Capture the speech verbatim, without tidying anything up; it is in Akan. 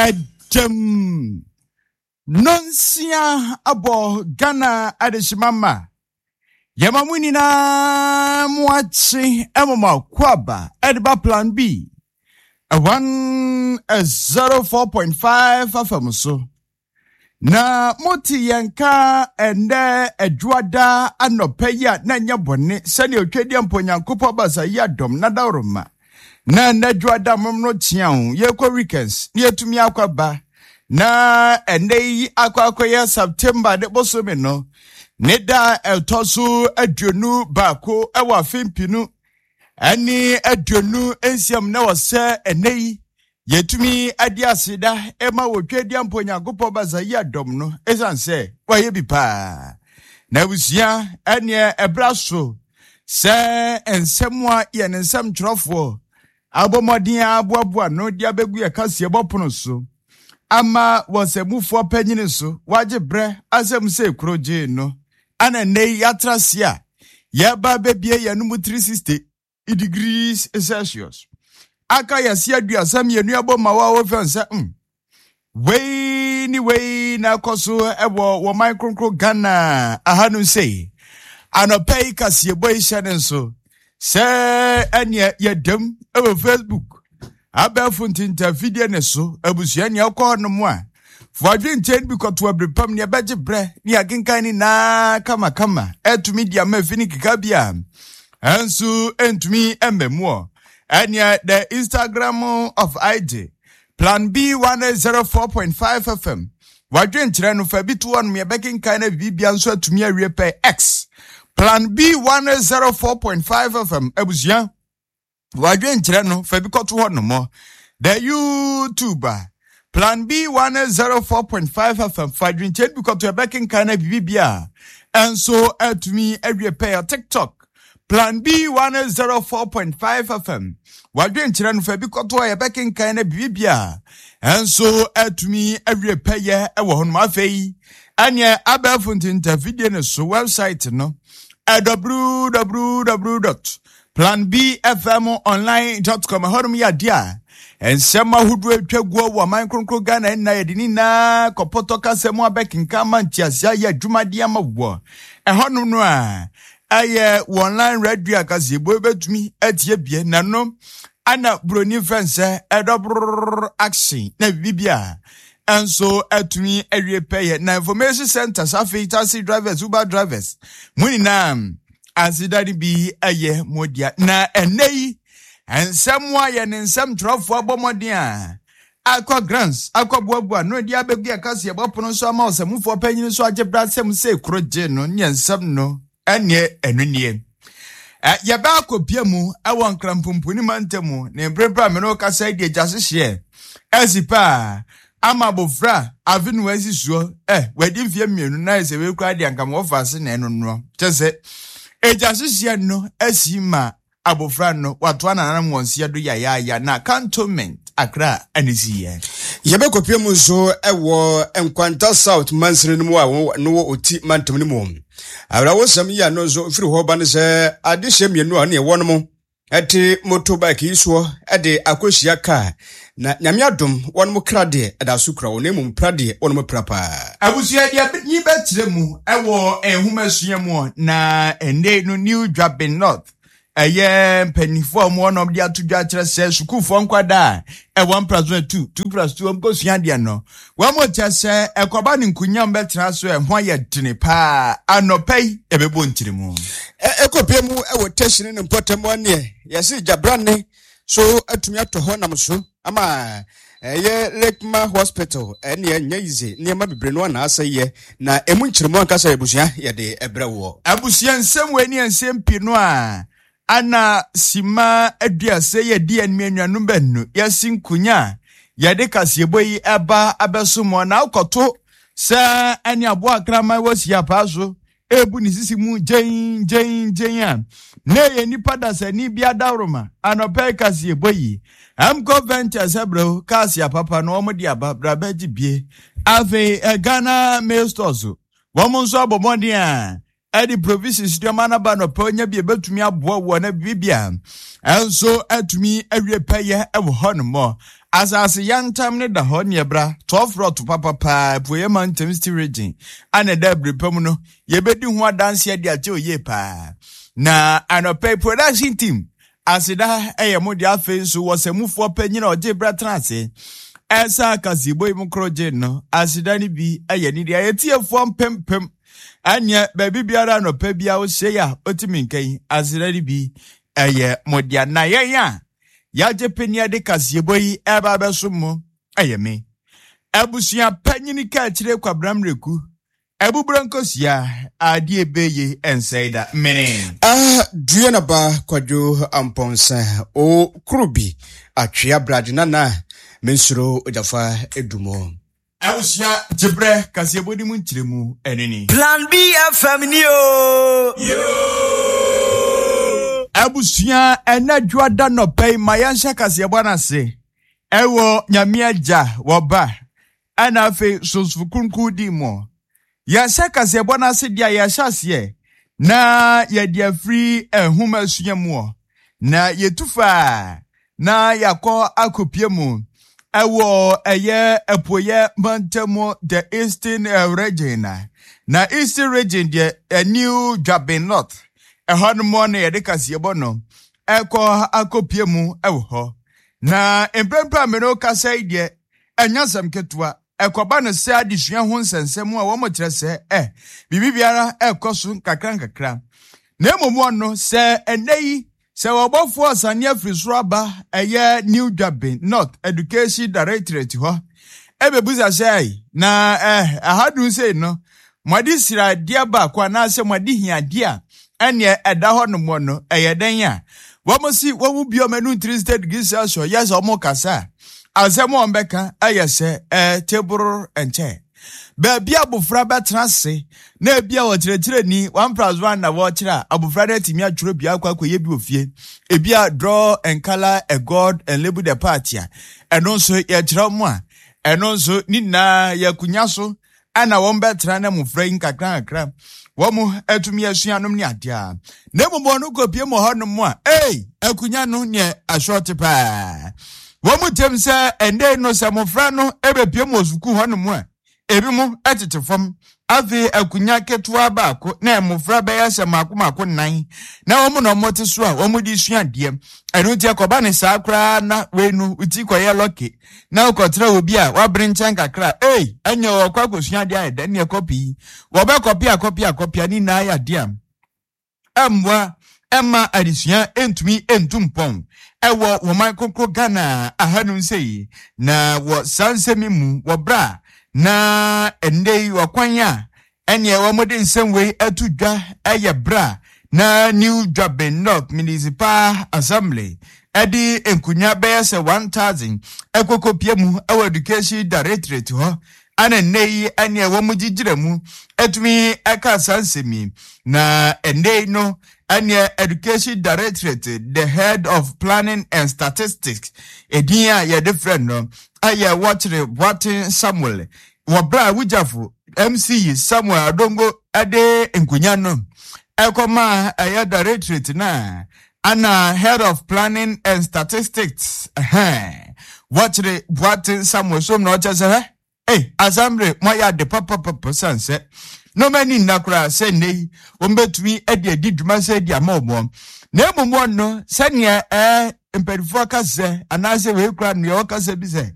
Ɛgyam nonsia abɔ Ghana adehyema ma yɛma mo nyinaa mo akye ɛma mo akwaaba ɛde ba Plan B one zero four point five F M so. Na mote yɛn ka ɛndɛ adwoada anɔpa yi a, na nyɛ bɔne sɛnea Otwadeɛ mpo Nyankopɔn basa yi adɔm na dawroma na ɛndɛ adwoada mom no kyea ho yɛkɔ weekends na yɛtumi akɔ aba. Na ɛndɛ yi akɔ akɔyɛ September de bosome no ne da ɛtɔ so aduonu baako ɛwɔ afe mpinu ɛne aduonu nsiam, na wɔ sɛ ɛnɛ yi yɛtumi ade aseda ɛma wɔtwa mpo Nyankopɔn basa yi adɔm no, ɛsiane sɛ wayɛ bi paa. Na abusua, ɛneɛ ɛbra so sɛ nsɛm a yɛne nsɛm twerɛfoɔ abɔ mmɔden aboaboa no de abɛgu yɛ kaseɛbɔ pono so ama wɔsɛmufoɔ panyini so wagye berɛ asɛm sɛ kuro gyee no ana nnɛ yi yɛatra se a yɛba bɛbie yɛn mu three hundred sixty degrees Celsius aka yɛse aduasa mmienu abɔ ma wo a wɔfɛn sɛ mm, wei ne wei na ɛkɔ so ɛwɔ wɔman kronkron Ghana ahanom sei. Anɔpa yi kaseɛbɔ yi hyɛ ne nso sɛ ɛneɛ yɛdam ɛwɔ Facebook abɛɛfo ntentafidie ne so. Abusua, nea ɛkɔ hɔnom a foadwe nkyɛn bi kɔto abiripam nea ɛbɛgye berɛ ne akenkan ne naa kamakama ɛtumi di ama efi ne keka bi a ɛnso ɛntumi ɛmma mu ɔ. Ɛneɛ the Instagram of I G Plan B one zero four point five F M, wadwe nkyerɛ no fa bi to hɔnom, yɛbɛkenkan na biribia nso atumi awie pɛ. X Plan B one zero four point five F M, abusua, wadwe nkyerɛ no fa bi kɔto hɔ nom. The YouTube a Plan B one zero four point five F M, fa adwenkyerɛ bi kɔto, yɛbɛkenkan na biribia ɛnso atumi awie pɛ. TikTok Plan B one zero four point five F M, wadwenkyerɛ no fa bi kɔto a yɛbɛkenkan na biribia ɛnso atumi awie pɛyɛ ɛwɔ hɔ nom. Afei ɛneɛ abɛɛfo ntentafidie ne so website no w w w dot planbfmonline dot com. Ɛhɔnom yɛ adeɛ a nsɛm ahodoɔ atwa guo wɔ ɔman kronkron Ghana nna yɛde ne nyinaa kɔpɔtɔ kasa mu abɛkenkan ma nteaseɛ ayɛ adwumadeɛ ama wɔ ɛhɔnom no a ɛyɛ wɔ online radio a kaseɛbɔ bɛtumi atie bie na no ana buroni fɛn sɛ ɛdɔbrɔ action na biribi a ɛnso atumi awie pɛyɛ. Na information centers, afei taxi drivers, Uber drivers, mo nyinaa aseda no bi ɛyɛ mo dea. Na ɛnɛ yi nsɛm a yɛ ne nsɛm twerɛfoɔ abɔ mmɔden a akɔ grants akɔ boaboa no de abɛgu yɛ kaseɛbɔ pono nso ama ɔsɛmufoɔ panyin nso agye bra asɛm sɛ kuro gye no ne nsɛm no ɛneɛ ɛno nie. Yɛbɛ akɔpia mu ɛwɔ Nkrampomponi mantam ne mprempren a mene wo kasa yi deɛ, gya hyehyeɛ ɛsi paa ama abɔfra afe no asi soɔ ɛ wadi mfeɛ mmienu na ɛsɛ wei koraa deɛ anka ma wɔfa ase na ɛno noɔ kyɛ sɛ agya hyehyeɛ no asi ma abɔfra no watoa nananom wɔn seɛ do yayaaya na Cantonment Accra ɛne si yɛ. Yɛbɛkɔpia mu nso ɛwɔ Nkwanta South mansini no mu a no wɔ Oti mantam no mu. Awerɛwosɛm yi a no nso firi hɔ ba no sɛ adehyɛ mmienu a ne ɛwɔ no mu ɛte motorbike yi soɔ ɛde akɔhyia kaa, na Nyame adom wɔn mo kra deɛ ɛda so kura wɔn, na mmom pra deɛ wɔn mo pra paa. Abusua, deɛ nyi bɛkyerɛ mu ɛwɔ nhomasua mu na ɛnɛ no New Dwabin North ɛyɛ mpanimfoɔ a wɔn wɔn de ato dwa kyerɛ sɛ sukuufoɔ nkwadaa a ɛwɔ mpraso two two plus two wɔn kɔsua adeɛ no, wɔn mo kyɛ sɛ ɛkɔba ne nkunyam bɛtena so ɛho ayɛ dene paa. Anɔpɛ yi ɛbɛbɔ nkyerɛ mu. Ɛkɔpie mu ɛwɔ tɛhyini ne mpɔtam aneɛ yɛse gyabrane so atumi atɔ hɔ nam so ama ɛyɛ Lekma Hospital ɛneɛ nyɛ yize nneɛma bebree no anaasɛ yɛ na ɛmu nkyerɛmu ankasa. Abusua, yɛde ɛbrɛ wɔ. Abusua, nsɛm wɔ ani nsɛm pii no a ana sima aduasa yɛ di anim anuanom baanu yɛsi nkonya a yɛde kaseɛbɔ yi ɛba abɛso mu na akɔto sɛ ɛne aboa kraman wɔ si apaa so ebu ne sisi mu gyɛn gyɛn gyɛn a na ɛyɛ nipa dasani bi adaworoma. Anɔpɛ kaseɛbɔ yi Mco Ventures ɛbrɛw kaase apapa na wɔn de aba brabɛgye bie. Afei Ghana Mail Stores wɔn nso abɔ mmɔden a Ɛde provisions nneɛma no ba nɔpɛ onya bi ebɛtumi aboa wɔ na bibia ɛnso atumi awie pɛyɛ ɛwɔ hɔ nom. Asase yantam ne da hɔ ne ɛbra twelve rot papapaa Apueɛ Mantam, Eastern Region, ana ɛda abiri pa mu no yɛbɛdi ho adanseɛ de akyɛ oyie paa. Na anɔpɛ production team, aseda ɛyɛ mo de. Afei nso wɔ sɛmufoɔ panyin a ɔgye brɛ tena ase ɛsa akasibɔ yi mu koro gye no, aseda no bi ɛyɛ ne deɛ. Yɛtiefoɔ mpempem ɛneɛ baabi biara anɔpɛ bi a wohyɛ yi a ɔtumi nka yi, aseda no bi ɛyɛ mo dea. Na yɛn a yɛagye panyin de kaseɛbɔ yi ɛba abɛso mo ɛyɛ me abusua panyin ka akyire Kwabena Mmereku abuburo nkosua adeɛ bɛye ɛnsɛe da mene. Ah, dua na ba Kwadwo Ampɔnsa o kuro bi atwea brade nana mensuro ogyafa edumo. Abusua, gyebrɛ kaseɛbɔ di mu nkyerɛmu ɛne ni. Plan B F M ni o. Abusua, ɛnɛ dwoada nɔpɛ yi ma yɛnhyɛ kaseɛbɔ no ase ɛwɔ Nyame Agya, wɔba ɛna afei Sonsofo Kronkron di mu. Yɛhyɛ kaseɛbɔ no ase deɛ a, yɛhyɛ aseɛ na yɛde afiri nhoma asua mu ɔ na yɛtu faa na yɛakɔ akɔpie mu ɛwɔ ɛyɛ Apueɛ Mantam, the Eastern eh, Region. na na Eastern Region deɛ, eh, New Juaben North ɛhɔ nom na yɛde kaseɛbɔ no ɛkɔ akɔpie mu ɛwɔ hɔ. Na mprempren a mene kasa yi deɛ, ɛnyɛ asɛm ketewa. Ɛkɔba no sɛ adesua ho nsɛnsɛm a wɔn kyerɛ sɛ ɛ biribi biara ɛkɔ so nkakra nkakra, na mmom ɔno sɛ ɛnɛ yi sɛ wɔbɔfoɔ asane afiri soro aba ɛyɛ New Juaben North Education Directorate hɔ ɛbɛbusa sɛ, na ɛ ahadum sei no mo sradeɛ baako anaasɛ mo ade hiadeɛ a ɛneɛ ɛda hɔ nom no ɛyɛ dɛn a wɔn si wɔn mu bi ɔmo anu three state degree Celsius yɛ sɛ wɔn kasa a, asɛm a wɔn bɛka ɛyɛ sɛ ɛɛ table nkyɛn baabi abofra bɛtena ase na ebi a ɔkyerɛkyerɛni one plus one na wɔkyerɛ a, abofra no atumi atwerɛ bi akɔ akɔyɛ bi wɔ fie. Ebi a draw and colour a god and label the part a, ɛno nso yɛkyerɛ mu a, ɛno nso ne nyinaa yɛ akonnwa so ɛna wɔn bɛtena na mmɔfra yi nkakra nkakra wɔn atumi asua nom ne adeɛ a. Na mmom wɔn kɔpie mu hɔnom a, ei, akonnwa no neɛ asɔɔte paa. Wɔn mu tɛm sɛ ɛnɛ no sɛ mmɔfra no ɛbɛpie mu wɔ sukuu hɔnom a, ebi mo tete fam. Afei akonnwa ketewa baako na mmɔfra bɛyɛ sɛ mako mako nnan na wɔn na wɔte so a wɔn de sua adeɛ. Ɛno nti ɛkɔba ne saa koraa na wei no ti kɔyɛ lucky na wokɔtena obi a wabere nkyɛn kakra, ei, ɛnyɛ wɔkɔ akɔsua adeɛ ayɛ dɛ ne ɛkɔpi yi wɔbɛkɔpi akɔpi akɔpi a ne nyinaa yɛ adeɛ a ɛmmoa ɛma adesua ntumi ntu mpɔn ɛwɔ wɔman koko Ghana ahanum sɛ. Na wɔ saa nsɛm yi mu wɔ berɛ a na ɛnnɛ yi ɔkwan a ɛneɛ wɔde nsɛm wei ato dwa ɛyɛ berɛ a na New Juaben North Municipal Assembly ɛde nkonnwa bɛyɛ sɛ one thousand ɛkɔkɔpie mu ɛwɔ Education Directorate hɔ, ana nnɛ yi ɛneɛ wɔn gyigyina mu ɛtumi ɛka saa nsɛm yi. Na ɛnnɛ yi no ɛneɛ Education Directorate, the head of planning and statistics, edin a yɛde frɛ no ɛyɛ Wɔkyerɛ Boaten Samuel, wɔ berɛ a Wugyafo M C E Samuel Adongo ɛde nkonnwa no ɛkɔma ɛyɛ directorate na ana head of planning and statistics ɛhɛn Wɔkyerɛ Boaten Samuel som na ɔkyɛ sɛ hɛ ei, assembly moayɛ ade papapapa san sɛ nneɛma ani nna koraa sɛ nnɛ yi wɔn de adi dwuma sɛ di ama wɔn. Na mmom wɔn no sɛnea ɛɛ mpanimfoɔ kasa anaasɛ wei kura nea ɔkasa bi sɛ